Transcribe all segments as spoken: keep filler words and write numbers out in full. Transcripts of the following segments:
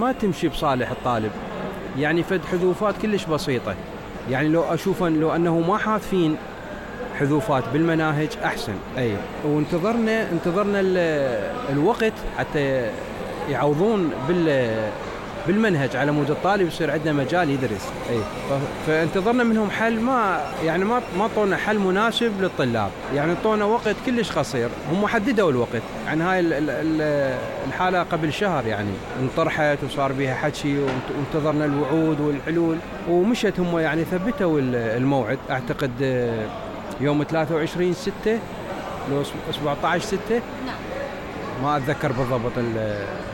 ما تمشي بصالح الطالب، يعني فد حذوفات كلش بسيطة، يعني لو أشوف أن لو أنه ما حاطين حذوفات بالمناهج أحسن. أي وانتظرنا انتظرنا الوقت حتى يعوضون بال بالمنهج على مود الطالب يصير عندنا مجال يدرس. اي فانتظرنا منهم حل، ما يعني ما ما طونا حل مناسب للطلاب، يعني طونا وقت كلش قصير. هم حددوا الوقت، يعني هاي الحالة قبل شهر يعني انطرحت وصار بها حكي وانتظرنا الوعود والحلول ومشت. هم يعني ثبتوا الموعد اعتقد يوم ثلاثة وعشرين ستة لو سبعة عشر ستة، نعم ما اتذكر بالضبط ال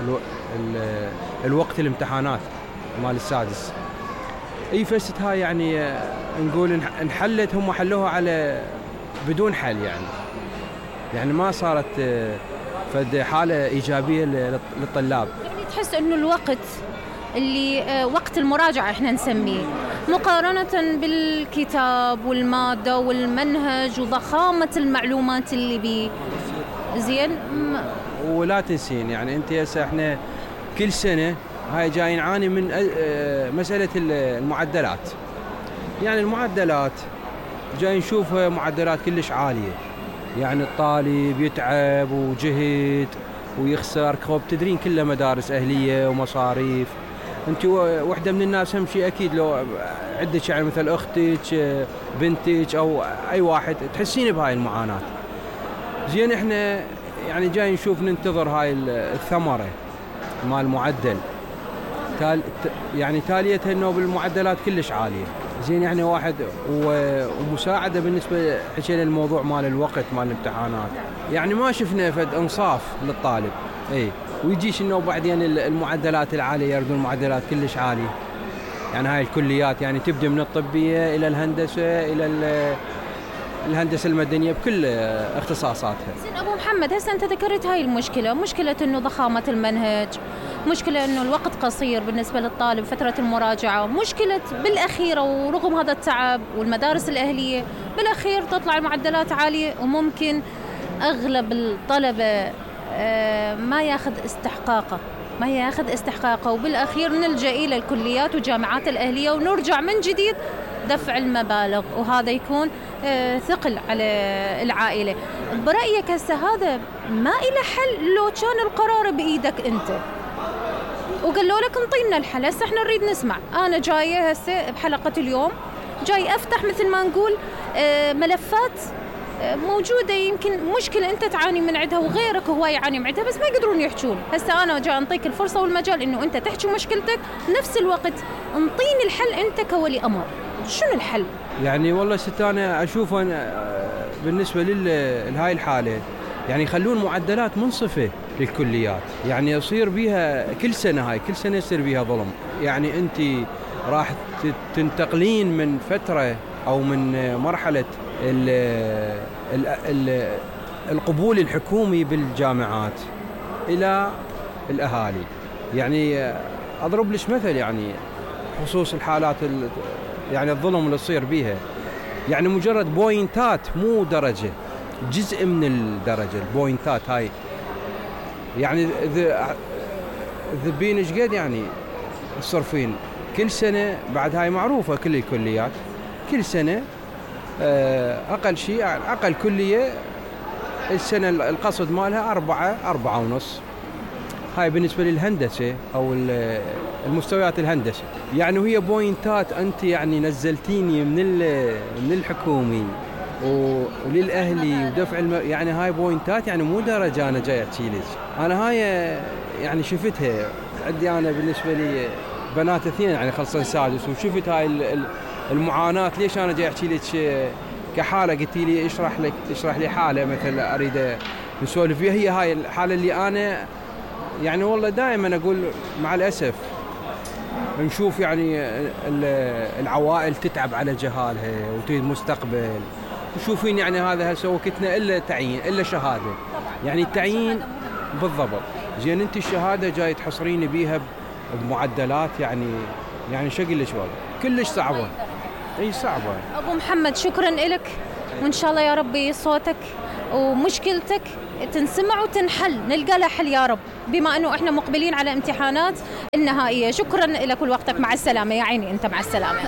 ال ال الوقت الامتحانات مال السادس. اي فست هاي يعني نقول انحلت، هم حلوها على بدون حل، يعني يعني ما صارت فد حالة إيجابية للطلاب. يعني تحس انه الوقت اللي وقت المراجعة احنا نسميه مقارنة بالكتاب والمادة والمنهج وضخامة المعلومات اللي بيه زين. ولا تنسين يعني انت هسه احنا كل سنة هاي جاي نعاني من مسألة المعدلات، يعني المعدلات جاي نشوف معدلات كلش عالية، يعني الطالب يتعب وجهد ويخسر كوب تدرين كله مدارس أهلية ومصاريف. انت وحدة من الناس هم شيء اكيد لو عندك يعني مثل اختك بنتك او اي واحد تحسين بهاي المعاناة. زين احنا يعني جاي نشوف ننتظر هاي الثمرة مال المعدل تال يعني تاليتها انه بالمعدلات كلش عالية. زين يعني واحد ومساعدة بالنسبة حكينا الموضوع مال الوقت مال الامتحانات، يعني ما شفنا فد انصاف للطالب. اي ويجيش انه بعدين المعدلات العالية يردون المعدلات كلش عالية، يعني هاي الكليات يعني تبدأ من الطبية الى الهندسة الى الهندسة المدنية بكل اختصاصاتها. زين أبو محمد، هسه أنت ذكرت هاي المشكلة، مشكلة إنه ضخامة المنهج، مشكلة إنه الوقت قصير بالنسبة للطالب فترة المراجعة، مشكلة بالأخيرة ورغم هذا التعب والمدارس الأهلية بالأخير تطلع المعدلات عالية وممكن أغلب الطلبة ما ياخذ استحقاقه ما ياخذ استحقاقه وبالأخير نلجأ إلى الكليات والجامعات الأهلية ونرجع من جديد دفع المبالغ، وهذا يكون ثقل على العائلة. برأيك هسه هذا ما إله حل لو كان القرار بإيدك أنت وقالوا لك انطينا الحل؟ هسه احنا نريد نسمع. أنا جاية هسه بحلقة اليوم جاي أفتح مثل ما نقول ملفات موجودة، يمكن مشكلة أنت تعاني من عندها وغيرك هو يعاني من عندها بس ما يقدرون يحجون. هسه أنا جاي أنطيك الفرصة والمجال إنه أنت تحكي مشكلتك، نفس الوقت انطيني الحل أنت كولي أمر. شنو الحل؟ يعني والله ست أنا أشوف أنا بالنسبة لهاي الحالة يعني يخلون معدلات منصفة للكليات، يعني يصير بيها كل سنة هاي كل سنة يصير بيها ظلم. يعني أنت راح تنتقلين من فترة أو من مرحلة ال ال ال القبول الحكومي بالجامعات إلى الأهالي. يعني أضرب لك مثل يعني خصوص الحالات يعني الظلم اللي يصير بيها، يعني مجرد بوينتات مو درجة، جزء من الدرجة البوينتات هاي، يعني ذبين ايش قد يعني الصرفين كل سنة. بعد هاي معروفة كل الكليات كل سنة أقل شيء أقل كلية السنة القصد مالها أربعة أربعة ونص. هاي بالنسبة للهندسة أو المستويات الهندسة، يعني وهي بوينتات أنت يعني نزلتيني من من الحكومي وللأهلي ودفع الم... يعني هاي بوينتات يعني مو درجة أنا جاي أحكي لك. أنا هاي يعني شفتها عندي أنا بالنسبة لي بنات اثنين يعني خلصن سادس، وشفت هاي المعاناة. ليش أنا جاي أحكي لك كحالة؟ قلتي لي اشرح لك اشرح لي حالة مثلا أريد نسولف فيها. هي هاي الحالة اللي أنا يعني والله دائما أقول مع الأسف نشوف يعني العوائل تتعب على جهالها وتريد مستقبل. وشوفين يعني هذا هسه وقتنا إلا تعيين إلا شهادة، يعني التعيين بالضبط. زين أنت الشهادة جاي تحصرين بيها بمعدلات يعني يعني شكل شوال كلش صعبة. اي صعبة. أبو محمد شكرا لك، وإن شاء الله يا ربي صوتك ومشكلتك تنسمع وتنحل، نلقى لها حل يا رب، بما أنه إحنا مقبلين على امتحانات النهائية. شكرا لك ولوقتك، مع السلامة يا عيني، أنت مع السلامة.